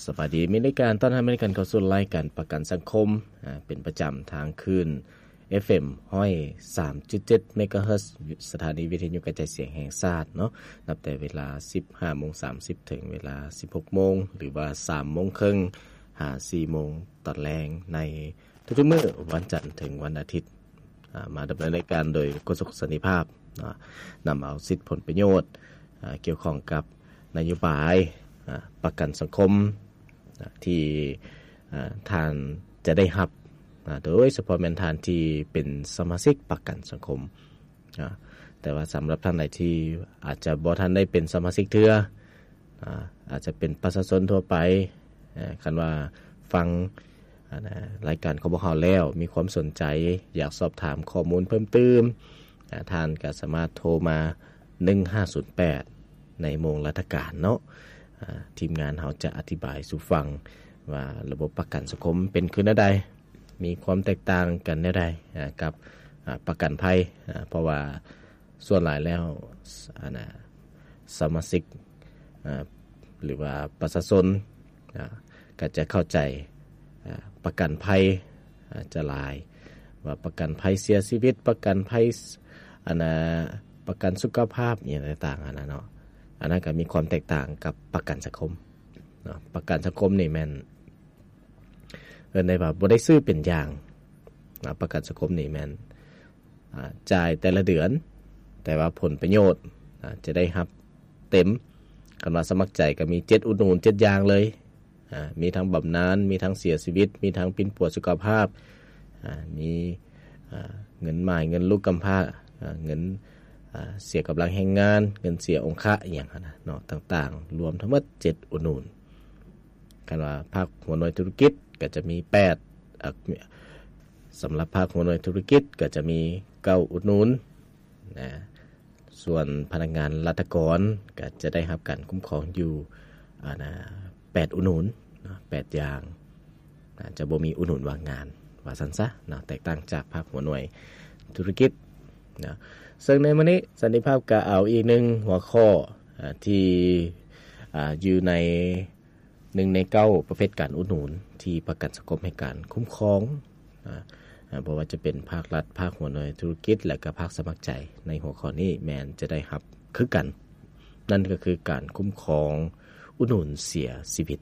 ສະບາຍດີ ມີລາຍການຕ້ອນຮັບ ມີລາຍການເຂົ້າສູ່ລາຍການປະກັນສັງຄົມ ອາ ເປັນປະຈຳທາງຄື້ນ ເອັຟເອັມ ຮ້ອຍສາມຈຸດເຈັດ ເມກາເຮີດ ສະຖານີວິທະຍຸກະຈາຍສຽງແຫ່ງຊາດເນາະ ນັບແຕ່ເວລາສິບຫ້າໂມງສາມສິບ ເຖິງເວລາສິບຫົກໂມງ ຫຼືວ່າສາມໂມງເຄິ່ງ ຫາສີ່ໂມງຕອນແລງ ໃນທຸກໆມື້ ວັນຈັນເຖິງວັນອາທິດ. ອາ ມາດຳເນີນລາຍການໂດຍໂຄສົກສັນຕິພາບ ນຳເອົາສິດຜົນປະໂຫຍດ ອາ ກ່ຽວຂ້ອງກັບນະໂຍບາຍ ອາ ປະກັນສັງຄົມ ອາ ທີ່ ອາ ທ່ານຈະໄດ້ຮັບ ອາ ໂດຍສະເພາະແມ່ນທ່ານທີ່ເປັນສະມາຊິກປະກັນສັງຄົມ ອາ ແຕ່ວ່າສຳລັບທ່ານໃດທີ່ອາດຈະບໍ່ທັນໄດ້ເປັນສະມາຊິກເທື່ອ ອາ ອາດຈະເປັນປະຊາຊົນທົ່ວໄປ ອາ ຄັນວ່າຟັງ ອາ ລາຍການຂອງພວກເຮົາແລ້ວ ມີຄວາມສົນໃຈ ຢາກສອບຖາມຂໍ້ມູນເພີ່ມຕື່ມ ອາ ທ່ານກໍສາມາດໂທມາ ໜຶ່ງຫ້າສູນແປດ ໃນໂມງລັດຖະການເນາະ ອາ ທີມງານເຮົາຈະອະທິບາຍສູ່ຟັງວ່າລະບົບປະກັນສັງຄົມເປັນຄືແນວໃດ ມີຄວາມແຕກຕ່າງກັນແນວໃດ ອາ ກັບ ອາ ປະກັນໄພ ອາ ເພາະວ່າ ສ່ວນຫຼາຍແລ້ວ ອັນນ່າ ສະມາຊິກ ອາ ຫຼືວ່າປະຊາຊົນ ອາ ກໍຈະເຂົ້າໃຈ ອາ ປະກັນໄພ ອາ ຈະຫຼາຍ ວ່າປະກັນໄພເສຍຊີວິດ ປະກັນໄພ ອັນນ່າ ປະກັນສຸຂະພາບ ອີ່ຫຍັງຕ່າງໆ ຫັ້ນນະເນາະ ອັນນັ້ນກໍມີຄວາມແຕກຕ່າງກັບປະກັນສັງຄົມເນາະ ປະກັນສັງຄົມນີ້ແມ່ນ ເອີ້ນໄດ້ວ່າບໍ່ໄດ້ຊື້ເປັນຢ່າງນະ ປະກັນສັງຄົມນີ້ແມ່ນ ອາ ຈ່າຍແຕ່ລະເດືອນ ແຕ່ວ່າຜົນປະໂຫຍດ ອາ ຈະໄດ້ຮັບເຕັມ ຄັນວ່າສະໝັກໃຈກໍມີເຈັດອຸດໜູນເຈັດຢ່າງເລີຍ ອາ ມີທັງບຳນານ ມີທັງເສຍຊີວິດ ມີທັງປິ່ນປົວສຸຂະພາບ ອາ ມີ ອາ ເງິນໝ້າຍ ເງິນລູກກຳພ້າ ອາ ເງິນ ອາ ເສຍກຳລັງແຮງງານ ເງິນເສຍອົງຄະ ອີ່ຫຍັງຫັ້ນນະເນາະ ຕ່າງໆ ລວມທັງໝົດເຈັດອຸດໜູນ. ຄັນວ່າພາກຫົວໜ່ວຍທຸລະກິດກໍຈະມີແປດ ເອີ ສຳລັບພາກຫົວໜ່ວຍທຸລະກິດກໍຈະມີເກົ້າອຸດໜູນນະ ສ່ວນພະນັກງານລັດຖະກອນກໍຈະໄດ້ຮັບການຄຸ້ມຄອງຢູ່ ອັນນ່າ ແປດອຸດໜູນເນາະ ແປດຢ່າງນະ ຈະບໍ່ມີອຸດໜູນວ່າງງານ ວ່າຊັ້ນຊະເນາະ ແຕກຕ່າງຈາກພາກຫົວໜ່ວຍທຸລະກິດເນາະ. ເຊິ່ງໃນມື້ນີ້ສັນຕິພາບກໍເອົາອີກໜຶ່ງຫົວຂໍ້ ອາ ທີ່ ອາ ຢູ່ໃນ ໜຶ່ງໃນເກົ້າປະເພດການອຸດໜູນທີ່ປະກັນສັງຄົມໃຫ້ການຄຸ້ມຄອງ ອາ ອາ ບໍ່ວ່າຈະເປັນພາກລັດ, ພາກຫົວໜ່ວຍທຸລະກິດ ແລະ ກະພາກສະໝັກໃຈ ໃນຫົວຂໍ້ນີ້ແມ່ນຈະໄດ້ຮັບຄືກັນ, ນັ້ນກໍຄືການຄຸ້ມຄອງອຸດໜູນເສຍຊີວິດ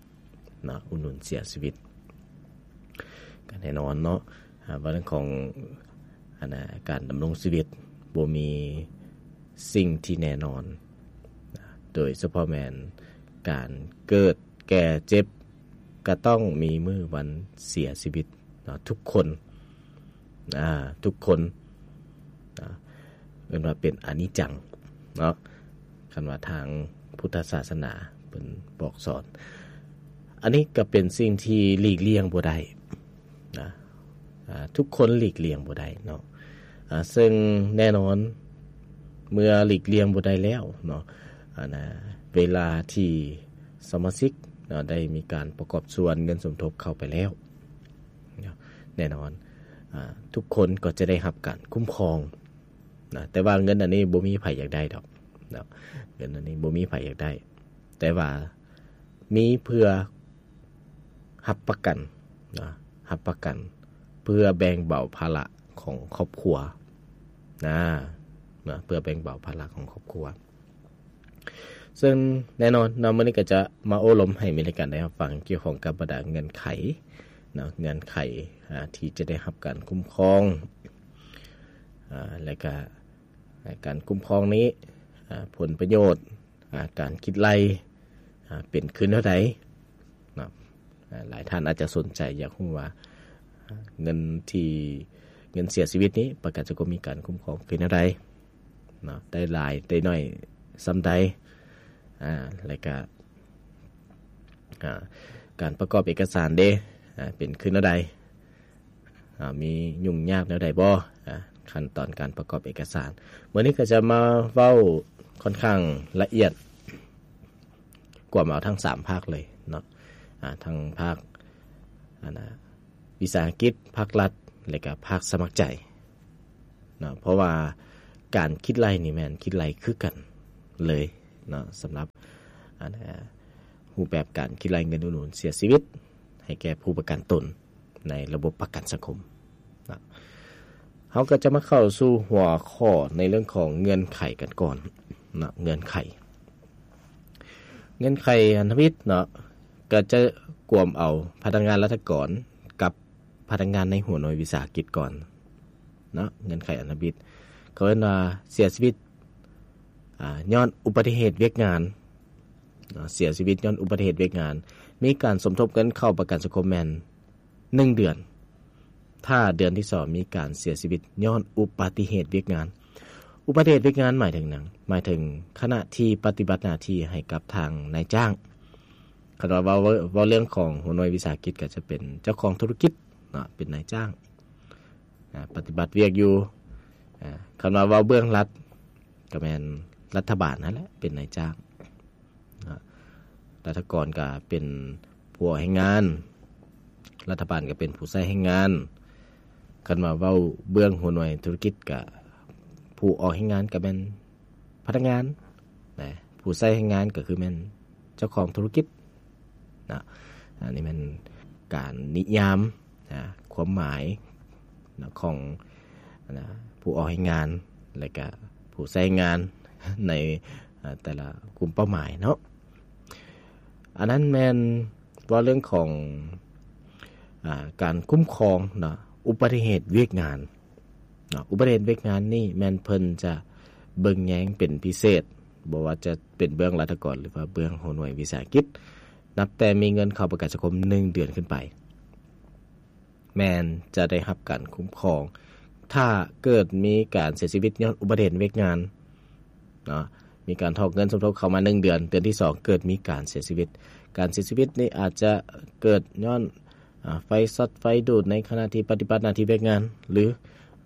ເນາະ, ອຸດໜູນເສຍຊີວິດ. ກໍແນ່ນອນເນາະ ອາ ເລື່ອງຂອງ ອັນນະ ການດຳລົງຊີວິດບໍ່ມີສິ່ງທີ່ແນ່ນອນ ໂດຍສະເພາະແມ່ນການເກີດ ແກ່ເຈັບ ກະຕ້ອງມີມື້ວັນເສຍຊີວິດເນາະ ທຸກຄົນ ອາ ທຸກຄົນ ອາ ເອີ້ນວ່າເປັນອະນິດຈັງເນາະ ຄັນວ່າທາງພຸດທະສາສະໜາເພິ່ນບອກສອນ. ອັນນີ້ກະເປັນສິ່ງທີ່ຫຼີກລ່ຽງບໍ່ໄດ້ນະ ອາ ທຸກຄົນຫຼີກລ່ຽງບໍ່ໄດ້ເນາະ ອາ ເຊິ່ງແນ່ນອນ ເມື່ອຫຼີກລ່ຽງບໍ່ໄດ້ແລ້ວເນາະ ອັນນະ ເວລາທີ່ສະມາຊິກເນາະ ໄດ້ມີການປະກອບສ່ວນເງິນສົມທົບເຂົ້າໄປແລ້ວເນາະ ແນ່ນອນ ອາ ທຸກຄົນກໍຈະໄດ້ຮັບການຄຸ້ມຄອງນະ ແຕ່ວ່າເງິນອັນນີ້ບໍ່ມີໃຜຢາກໄດ້ດອກເນາະ ເງິນອັນນີ້ບໍ່ມີໃຜຢາກໄດ້ ແຕ່ວ່າມີເພື່ອ ຮັບປະກັນນະ ຮັບປະກັນເພື່ອແບ່ງເບົາພາລະຂອງຄອບຄົວນະ ນະ ເພື່ອແບ່ງເບົາພາລະຂອງຄອບຄົວ. ເຊິ່ງແນ່ນອນເນາະ ມື້ນີ້ກໍຈະມາໂອ້ລົມໃຫ້ມີລາຍການໄດ້ຮັບຟັງກ່ຽວຂ້ອງກັບບັນດາເງື່ອນໄຂເນາະ ເງື່ອນໄຂ ອາ ທີ່ຈະໄດ້ຮັບການຄຸ້ມຄອງ ອາ ແລະກະ ການຄຸ້ມຄອງນີ້ ອາ ຜົນປະໂຫຍດ ອາ ການຄິດໄລ່ ອາ ເປັນຄືແນວໃດເນາະ ອາ ຫຼາຍທ່ານອາດຈະສົນໃຈຢາກຮູ້ວ່າ ອາ ເງິນທີ່ ເງິນເສຍຊີວິດນີ້ ປະກັນສັງຄົມມີການຄຸ້ມຄອງຄືແນວໃດເນາະ ໄດ້ຫຼາຍໄດ້ໜ້ອຍສ່ຳໃດ ອາ ແລະກະ ອາ ການປະກອບເອກະສານເດ ອາ ເປັນຄືແນວໃດ ອາ ມີຫຍຸ້ງຍາກແນວໃດບໍ່ ອາ ຂັ້ນຕອນການປະກອບເອກະສານ. ມື້ນີ້ກໍຈະມາເວົ້າຂ້ອນຂ້າງລະອຽດ ກວມເອົາທັງສາມພາກເລີຍເນາະ ອາ ທັງພາກ ອັນນະ ວິສາຫະກິດ, ພາກລັດ ແລະກະພາກສະໝັກໃຈເນາະ ເພາະວ່າການຄິດໄລ່ນີ້ແມ່ນຄິດໄລ່ຄືກັນເລີຍເນາະ ສຳລັບ ອັນນະ ຮູບແບບການຄິດໄລ່ເງິນອຸດໜູນເສຍຊີວິດໃຫ້ແກ່ຜູ້ປະກັນຕົນໃນລະບົບປະກັນສັງຄົມນະ. ເຮົາກໍຈະມາເຂົ້າສູ່ຫົວຂໍ້ໃນເລື່ອງຂອງເງື່ອນໄຂກັນກ່ອນເນາະ. ເງື່ອນໄຂ ເງື່ອນໄຂພັນທະມິດເນາະ ກໍຈະກວມເອົາພະນັກງານລັດຖະກອນກັບພະນັກງານໃນຫົວໜ່ວຍວິສາຫະກິດກ່ອນເນາະ. ເງື່ອນໄຂພັນທະມິດ ເຂົາເອີ້ນວ່າເສຍຊີວິດ ອາ ຍ້ອນອຸບັດຕິເຫດວຽກງານເນາະ, ເສຍຊີວິດຍ້ອນອຸບັດຕິເຫດວຽກງານ, ມີການສົມທົບເງິນເຂົ້າປະກັນສັງຄົມແມ່ນໜຶ່ງເດືອນ, ຖ້າເດືອນທີສອງມີການເສຍຊີວິດຍ້ອນອຸບັດຕິເຫດວຽກງານ. ອຸບັດຕິເຫດວຽກງານໝາຍເຖິງຫຍັງ? ໝາຍເຖິງຂະນະທີ່ປະຕິບັດໜ້າທີ່ໃຫ້ກັບທາງນາຍຈ້າງ. ຄັນວ່າເວົ້າ ເວົ້າເລື່ອງຂອງຫົວໜ່ວຍວິສາຫະກິດ ກໍຈະເປັນເຈົ້າຂອງທຸລະກິດເນາະ ເປັນນາຍຈ້າງ ອາ ປະຕິບັດວຽກຢູ່. ອາ ຄັນວ່າເວົ້າເບື້ອງລັດ ກໍແມ່ນລັດຖະບານຫັ້ນແຫຼະເປັນນາຍຈ້າງເນາະ, ລັດຖະກອນກໍເປັນຜູ້ອອກແຮງງານ, ລັດຖະບານກໍເປັນຜູ້ໃຊ້ແຮງງານ. ຄັນວ່າເວົ້າເບື້ອງຫົວໜ່ວຍທຸລະກິດ ກໍຜູ້ອອກແຮງງານກໍແມ່ນພະນັກງານນະ, ຜູ້ໃຊ້ແຮງງານກໍຄືແມ່ນເຈົ້າຂອງທຸລະກິດນະ. ອັນນີ້ແມ່ນການນິຍາມນະ ຄວາມໝາຍນະ ຂອງນະ ຜູ້ອອກແຮງງານ ແລະກະຜູ້ໃຊ້ແຮງງານໃນ ອາ ແຕ່ລະກຸ່ມເປົ້າໝາຍເນາະ. ອັນນັ້ນແມ່ນເວົ້າເລື່ອງຂອງ ອາ ການຄຸ້ມຄອງເນາະ ອຸບັດຕິເຫດວຽກງານເນາະ. ອຸບັດຕິເຫດວຽກງານນີ້ແມ່ນເພິ່ນຈະເບິ່ງແຍງເປັນພິເສດ, ບໍ່ວ່າຈະເປັນເບື້ອງລັດຖະກອນ ຫຼືວ່າເບື້ອງຫົວໜ່ວຍວິສາຫະກິດ, ນັບແຕ່ມີເງິນເຂົ້າປະກັນສັງຄົມໜຶ່ງເດືອນຂຶ້ນໄປ ແມ່ນຈະໄດ້ຮັບການຄຸ້ມຄອງ. ຖ້າເກີດມີການເສຍຊີວິດຍ້ອນອຸບັດຕິເຫດວຽກງານເນາະ, ມີການຖອກເງິນສົມທົບເຂົ້າມາໜຶ່ງເດືອນ, ເດືອນທີສອງເກີດມີການເສຍຊີວິດ, ການເສຍຊີວິດນີ້ອາດຈະເກີດຍ້ອນ ອາ ໄຟຊັອດໄຟດູດໃນຂະນະທີ່ປະຕິບັດໜ້າທີ່ວຽກງານ ຫຼື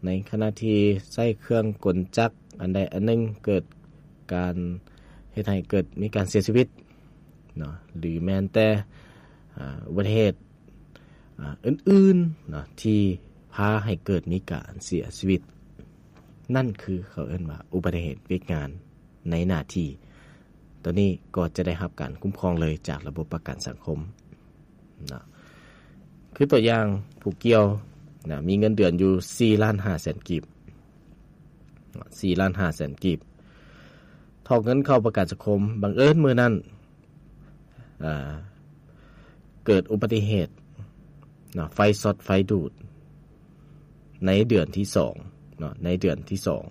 ໃນຂະນະທີ່ໃຊ້ເຄື່ອງກົນຈັກອັນໃດອັນໜຶ່ງ ເກີດການເຮັດໃຫ້ເກີດມີການເສຍຊີວິດເນາະ, ຫຼື ແມ່ນແຕ່ ອາ ອຸບັດຕິເຫດ ອາ ອື່ນໆເນາະ ທີ່ພາໃຫ້ເກີດມີການເສຍຊີວິດ, ນັ້ນຄືເຂົາເອີ້ນວ່າອຸບັດຕິເຫດວຽກງານໃນໜ້າທີ່. ໂຕນີ້ກໍຈະໄດ້ຮັບການຄຸ້ມຄອງເລີຍຈາກລະບົບປະກັນສັງຄົມເນາະ. ຄືຕົວຢ່າງຜູ້ກ່ຽວນະ ມີເງິນເດືອນຢູ່ສີ່ລ້ານຫ້າແສນກີບ, ສີ່ລ້ານຫ້າແສນກີບ, ຖອກເງິນເຂົ້າປະກັນສັງຄົມ, ບັງເອີນມື້ນັ້ນ ອາ ເກີດອຸບັດຕິເຫດເນາະ ໄຟຊັອດໄຟດູດໃນເດືອນທີສອງເນາະ, ໃນເດືອນທີສອງ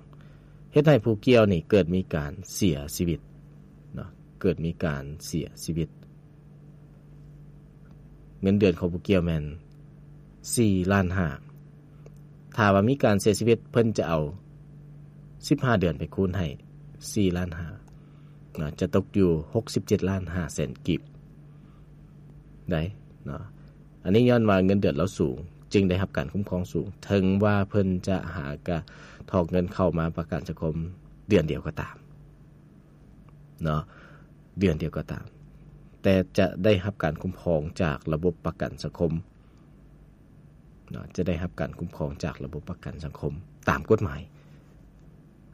ເຮັດໃຫ້ຜູ້ກ່ຽວນີ້ເກີດມີການເສຍຊີວິດເນາະ, ເກີດມີການເສຍຊີວິດ. ເງິນເດືອນຂອງຜູ້ກ່ຽວແມ່ນສີ່ລ້ານຫ້າ, ຖ້າວ່າມີການເສຍຊີວິດ ເພິ່ນຈະເອົາສິບຫ້າເດືອນໄປຄູນໃຫ້ສີ່ລ້ານຫ້າເນາະ, ຈະຕົກຢູ່ຫົກສິບເຈັດລ້ານຫ້າແສນກີບໄດ້ເນາະ. ອັນນີ້ຍ້ອນວ່າເງິນເດືອນລາວສູງ ຈຶ່ງໄດ້ຮັບການຄຸ້ມຄອງສູງ, ເຖິງວ່າເພິ່ນຈະຫາກະຖອກເງິນເຂົ້າມາປະກັນສັງຄົມເດືອນດຽວກໍຕາມເນາະ, ເດືອນດຽວກໍຕາມ, ແຕ່ຈະໄດ້ຮັບການຄຸ້ມຄອງຈາກລະບົບປະກັນສັງຄົມເນາະ, ຈະໄດ້ຮັບການຄຸ້ມຄອງຈາກລະບົບປະກັນສັງຄົມຕາມກົດໝາຍ.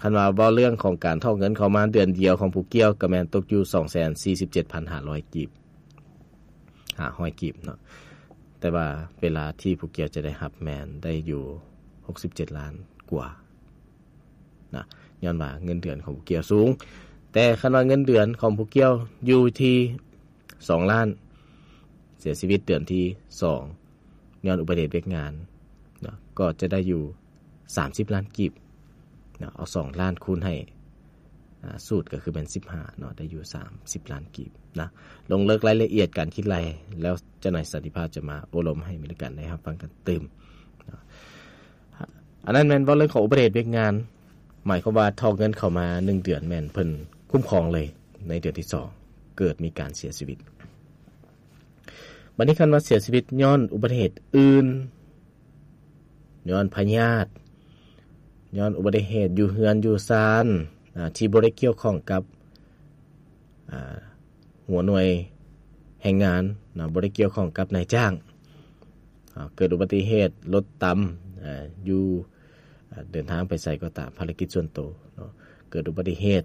ຄັນວ່າເວົ້າເລື່ອງຂອງການຖອກເງິນເຂົ້າມາເດືອນດຽວຂອງຜູ້ກ່ຽວ ກໍແມ່ນຕົກຢູ່ສອງແສນສີ່ສິບເຈັດພັນຫ້າຮ້ອຍກີບ, ຫ້າຮ້ອຍກີບເນາະ, ແຕ່ວ່າເວລາທີ່ຜູ້ກ່ຽວຈະໄດ້ຮັບແມ່ນໄດ້ຢູ່ຫົກສິບເຈັດລ້ານກວ່ານະ, ຍ້ອນວ່າເງິນເດືອນຂອງຜູ້ກ່ຽວສູງ. ແຕ່ຄັນວ່າເງິນເດືອນຂອງຜູ້ກ່ຽວຢູ່ທີ່ສອງລ້ານ, ເສຍຊີວິດເດືອນທີສອງ ຍ້ອນອຸບັດຕິເຫດວຽກງານເນາະ, ກໍຈະໄດ້ຢູ່ສາມສິບລ້ານກີບເນາະ, ເອົາສອງລ້ານຄູນໃຫ້ ອາ ສູດກໍຄືແມ່ນສິບຫ້າເນາະ, ໄດ້ຢູ່ສາມສິບລ້ານກີບນະ. ລົງເລິກລາຍລະອຽດການຄິດໄລ່ ແລ້ວເຈົ້ານາຍສັນຕິພາບຈະມາໂອ້ລົມໃຫ້ເມລິກັນໄດ້ຮັບຟັງກັນຕື່ມເນາະ. ອັນນັ້ນແມ່ນເວົ້າເລື່ອງຂອງອຸບັດຕິເຫດວຽກງານ, ໝາຍຄວາມວ່າຖອກເງິນເຂົ້າມາໜຶ່ງເດືອນ ແມ່ນເພິ່ນຄຸ້ມຄອງເລີຍ, ໃນເດືອນທີສອງເກີດມີການເສຍຊີວິດ. ບັດນີ້ຄັນວ່າເສຍຊີວິດຍ້ອນອຸບັດຕິເຫດອື່ນ, ຍ້ອນພະຍາດ, ຍ້ອນອຸບັດຕິເຫດຢູ່ເຮືອນຢູ່ຊານ ອາ ທີ່ບໍ່ໄດ້ກ່ຽວຂ້ອງກັບ ອາ ຫົວໜ່ວຍແຮງງານເນາະ, ບໍ່ໄດ້ກ່ຽວຂ້ອງກັບນາຍຈ້າງ, ອາ ເກີດອຸບັດຕິເຫດລົດຕຳ ອາ ຢູ່ ອາ ເດີນທາງໄປໃສກໍຕາມ, ພາລະກິດສ່ວນໂຕເນາະ, ເກີດອຸບັດຕິເຫດ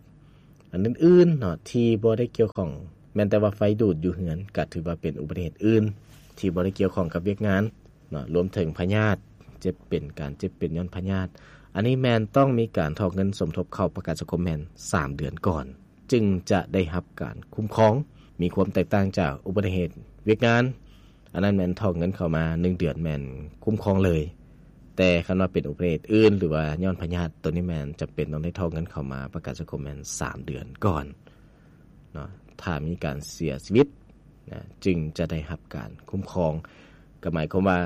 ອັນອື່ນໆເນາະ ທີ່ບໍ່ໄດ້ກ່ຽວຂ້ອງ ແມ່ນແຕ່ວ່າໄຟດູດຢູ່ເຮືອນ ກໍຖືວ່າເປັນອຸບັດຕິເຫດອື່ນທີ່ບໍ່ໄດ້ກ່ຽວຂ້ອງກັບວຽກງານເນາະ, ລວມເຖິງພະຍາດ ເຈັບເປັນ ການເຈັບເປັນຍ້ອນພະຍາດ. ອັນນີ້ແມ່ນຕ້ອງມີການຖອກເງິນສົມທົບເຂົ້າປະກັນສັງຄົມແມ່ນສາມເດືອນກ່ອນ ຈຶ່ງຈະໄດ້ຮັບການຄຸ້ມຄອງ. ມີຄວາມແຕກຕ່າງຈາກອຸບັດຕິເຫດວຽກງານ, ອັນນັ້ນແມ່ນຖອກເງິນເຂົ້າມາໜຶ່ງເດືອນແມ່ນຄຸ້ມຄອງເລີຍ. ແຕ່ຄັນວ່າເປັນອຸບັດຕິເຫດອື່ນ ຫຼືວ່າຍ້ອນພະຍາດ, ໂຕນີ້ແມ່ນຈຳເປັນຕ້ອງໄດ້ຖອກເງິນເຂົ້າມາປະກັນສັງຄົມແມ່ນສາມເດືອນກ່ອນເນາະ. ຖ້າມີການເສຍຊີວິດນະ ຈຶ່ງຈະໄດ້ຮັບການຄຸ້ມຄອງ. ກໍໝາຍຄວາມວ່າ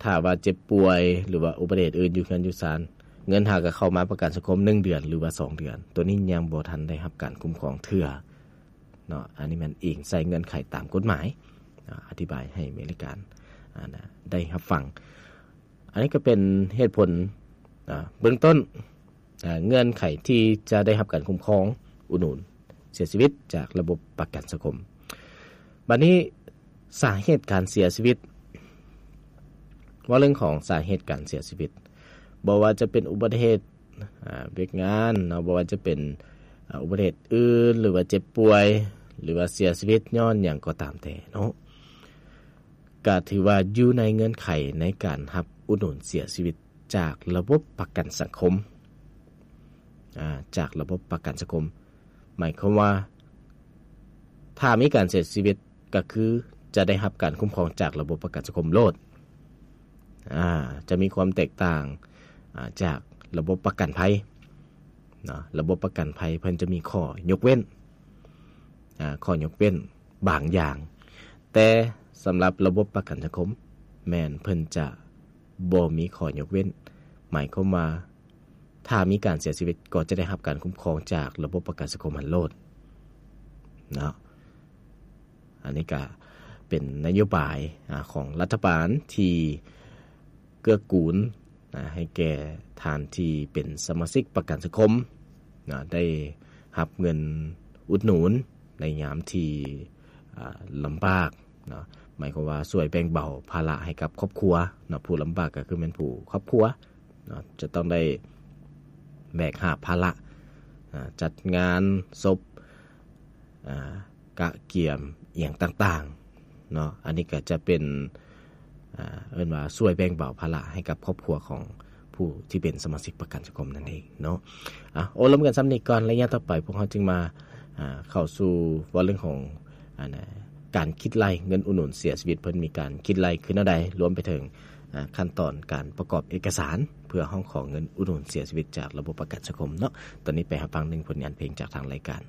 ຖ້າວ່າເຈັບປ່ວຍ ຫຼືວ່າອຸບັດຕິເຫດອື່ນຢູ່ເຮືອນຢູ່ຊານ, ເງິນຫາກໍເຂົ້າມາປະກັນສັງຄົມໜຶ່ງເດືອນ ຫຼືວ່າສອງເດືອນ, ໂຕນີ້ຍັງບໍ່ທັນໄດ້ຮັບການຄຸ້ມຄອງເທື່ອເນາະ. ອັນນີ້ແມ່ນອີງໃສ່ເງື່ອນໄຂຕາມກົດໝາຍ ອາ ອະທິບາຍໃຫ້ເມລິກາ ອາ ນະ ໄດ້ຮັບຟັງ. ອັນນີ້ກໍເປັນເຫດຜົນ ອາ ເບື້ອງຕົ້ນ ອາ ເງື່ອນໄຂທີ່ຈະໄດ້ຮັບການຄຸ້ມຄອງອຸດໜູນເສຍຊີວິດຈາກລະບົບປະກັນສັງຄົມ. ບັດນີ້ສາເຫດການເສຍຊີວິດ, ເວົ້າເລື່ອງຂອງສາເຫດການເສຍຊີວິດ, ບໍ່ວ່າຈະເປັນອຸບັດຕິເຫດ ອາ ວຽກງານເນາະ, ບໍ່ວ່າຈະເປັນ ອາ ອຸບັດຕິເຫດອື່ນ ຫຼືວ່າເຈັບປ່ວຍ ຫຼືວ່າເສຍຊີວິດຍ້ອນຫຍັງກໍຕາມແຕ່ເນາະ, ກະຖືວ່າຢູ່ໃນເງື່ອນໄຂໃນການຮັບອຸດໜູນເສຍຊີວິດຈາກລະບົບປະກັນສັງຄົມ ອາ ຈາກລະບົບປະກັນສັງຄົມ. ໝາຍຄວາມວ່າ ຖ້າມີການເສຍຊີວິດ ກໍຄືຈະໄດ້ຮັບການຄຸ້ມຄອງຈາກລະບົບປະກັນສັງຄົມໂລດ. ອາ ຈະມີຄວາມແຕກຕ່າງ ອາ ຈາກລະບົບປະກັນໄພເນາະ. ລະບົບປະກັນໄພເພິ່ນຈະມີຂໍ້ຍົກເວັ້ນ ອາ ຂໍ້ຍົກເວັ້ນບາງຢ່າງ, ແຕ່ສຳລັບລະບົບປະກັນສັງຄົມ ແມ່ນເພິ່ນຈະບໍ່ມີຂໍ້ຍົກເວັ້ນ. ໝາຍຄວາມວ່າ ຖ້າມີການເສຍຊີວິດ ກໍຈະໄດ້ຮັບການຄຸ້ມຄອງຈາກລະບົບປະກັນສັງຄົມຫັ້ນໂລດເນາະ. ອັນນີ້ກະເປັນນະໂຍບາຍ ອາ ຂອງລັດຖະບານທີ່ເກື້ອກູນ ອາ ໃຫ້ແກ່ທ່ານທີ່ເປັນສະມາຊິກປະກັນສັງຄົມນະ ໄດ້ຮັບເງິນອຸດໜູນໃນຍາມທີ່ ອາ ລຳບາກເນາະ. ໝາຍຄວາມວ່າຊ່ວຍແບ່ງເບົາພາລະໃຫ້ກັບຄອບຄົວເນາະ. ຜູ້ລຳບາກກໍຄືແມ່ນຜູ້ຄອບຄົວ ເນາະ ຈະຕ້ອງໄດ້ແບກຫາບພາລະ ອາ ຈັດງານສົບ ອາ ກະກຽມອີ່ຫຍັງຕ່າງໆເນາະ. ອັນນີ້ກໍຈະເປັນ ອາ ເອີ້ນວ່າຊ່ວຍແບ່ງເບົາພາລະໃຫ້ກັບຄອບຄົວຂອງຜູ້ທີ່ເປັນສະມາຊິກປະກັນສັງຄົມນັ້ນເອງເນາະ. ອາ ໂອ້ລົມກັນສ່ຳນີ້ກ່ອນ, ໄລຍະຕໍ່ໄປພວກເຮົາຈຶ່ງມາ ອາ ເຂົ້າສູ່ເວົ້າເລື່ອງຂອງ ອັນນະ ການຄິດໄລ່ເງິນອຸດໜູນເສຍຊີວິດ ເພິ່ນມີການຄິດໄລ່ຄືແນວໃດ, ລວມໄປເຖິງ ອາ ຂັ້ນຕອນການປະກອບເອກະສານ ເພື່ອຮ້ອງຂໍເງິນອຸດໜູນເສຍຊີວິດຈາກລະບົບປະກັນສັງຄົມເນາະ. ຕອນນີ້ໄປຮັບຟັງໜຶ່ງຜົນງານເພງຈາກທາງລາຍການ.